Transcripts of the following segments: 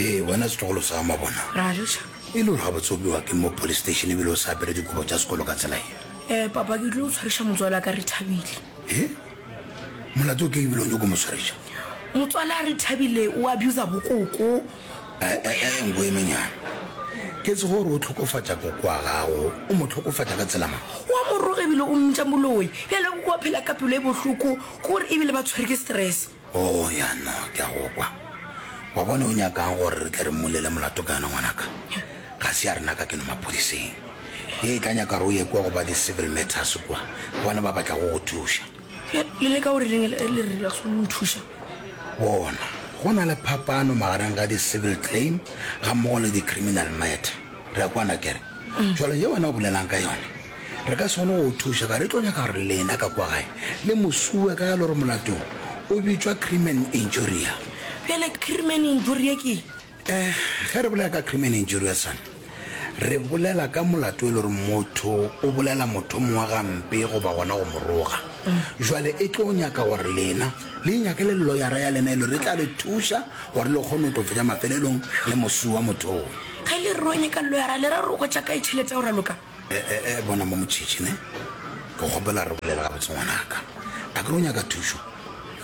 Ee, wena setlogolo sa mabona. Ra joša. E le gore gabotse o bewa ke mo police station ebile o sa apere dikobo tša sekolo ka tsela ye? Eh, papa, ke tlilo tshwariša motswala ka Rethabile. He? Molato ke ebile o nyoko mo tshwariša? Motswala Rethabile o abusa bokoko. Eh, eh, eh, nko e menyane. Ke tse gore o tlhokofatša koko wa gago, o mo tlhokofatša ka tsela mang? O a mo roga ebile o mmitša moloi. Bjale koko wa phela ka pelo e bohloko, ke gore ebile ba tshwere ke stress. Oh, ya no, ke a go kwa. Wa bona o nyakang gore re tle re mmolele molato ka yona ngwanaka? Ga se ya rena ka keno maphodiseng. Ye e tla nyaka gore o ye kua go ba di-civil matters kua, ke bona ba ba tlago go thuša. Le leka gore reng le re la go nthuša? Bona, go na le phapano magareng ga di-civil claim gammogo le di-criminal matter. Re a kwana akere? Jwale ye wena o bolelang ka yona, re ka se kgone go o thuša ka re tlo nyaka gore lena ka kwa gae le mo sue ka ge le gore molato o bitšwa crimen injuria. Bjale crimen injuria ke eng? Eh, ge re bolela ka crimen injuria son, re bolela ka molato e le gore motho o bolela motho mongwe gampe goba gona go mo roga. Jwale e tlo nyaka gore lena le inyakele loyara ya lena e le gore e tla le thuša gore le kgone go tlo fetša mafelelong le mo sua motho oo. Ge le re ro nyaka loyara, le ra re o hwetša kae tšhelete ya go raloka? E, e, e, bona mo motšhitšhi, ne? Ke kgopela re bolele gabotse ngwanaka. A ke re o nyaka thušo?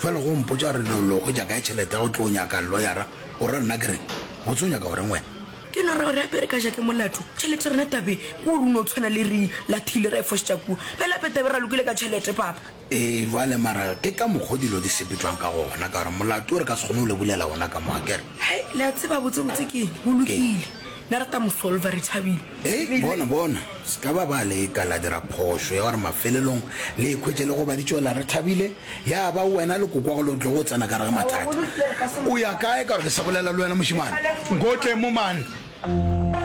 Bjale go mpotša gore lo, lo hwetša kae tšhelete ya go tlo nyaka loyara, o ra nna ke reng? Botse o nyaka go reng wena? Ke no ra gore gape re ka ja ke molato. Tšhelete rena tabeng ke gore o no tshwana le re lathile ra e fošetša kua. Bjale gape tabe ra lokile ka tšhelete, papa. Ee, bjale mara ke ka mokgo dilo di sepetšwang ka gona, ka gore molato o re ka se kgone go le bulela wona ka mo, akere? Hei, le a tseba botsebotse ke eng? Go lokile. Nna re tla mo solva re thabile. Hei, bona, bona, se ka ba ba leka la dira phošo ya gore mafelelong le ikhwetše le gobaditšwe la re thabile, ya ba wena le kokwago le tlogo tsena ka gare ga mathata. O ya kae ka gore ke sa bolela le wena, mošemane? Nkotle mo, man!